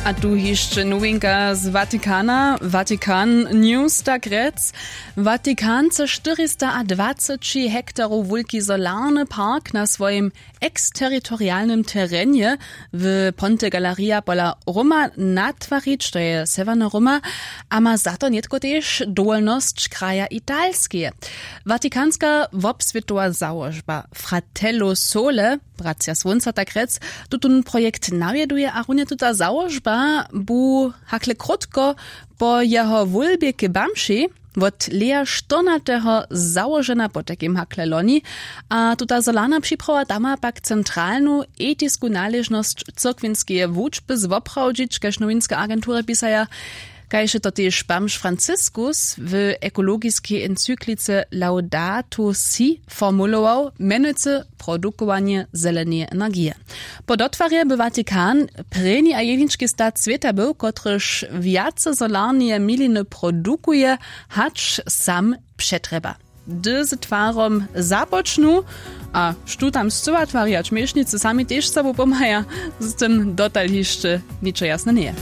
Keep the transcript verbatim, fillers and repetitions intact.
A tu hišće nowinka z Vatikana, Vatikan News, tak rjec. Vatikan chce štyristaadwaceći hektarow wulki solarny park na swojim eksteritorialnym terenje w Ponte Galeria pola Roma natwarić, to je sewjerna Roma, a ma za to nětko tež dowolnosć kraja Italskeje. Vatikanska wobswětowa załožba Fratello Sole, Bratřa Słónca, tak rjec, tutón projekt nawjeduje a runje tuta załožba bu hakle krótko po jeho wólbje k bamši wot Lea štyrnateho załožena, potajkim hakle loni. A tuta solarna připrawa da ma pak centralnu etisku naležnosć cyrkwinskeje wučby zwoprawdźić, kaž nowinske agentury pisaja. Kaž je to tež bamž Franciskus w ekologiskej encyklice Laudato Si formulował, mjenujcy produkowanje zeleneje energije. Po dotwarje by Vatikan prěni a jenički stat swěta był, kotryž wjace solarneje miliny produkuje, hač sam přetrjeba. Hdy z twarom započnu, a štó tam scyła twari a čmješnicy sami tež sobu pomhaja, z tym dotal hišće ničo jasne njeje.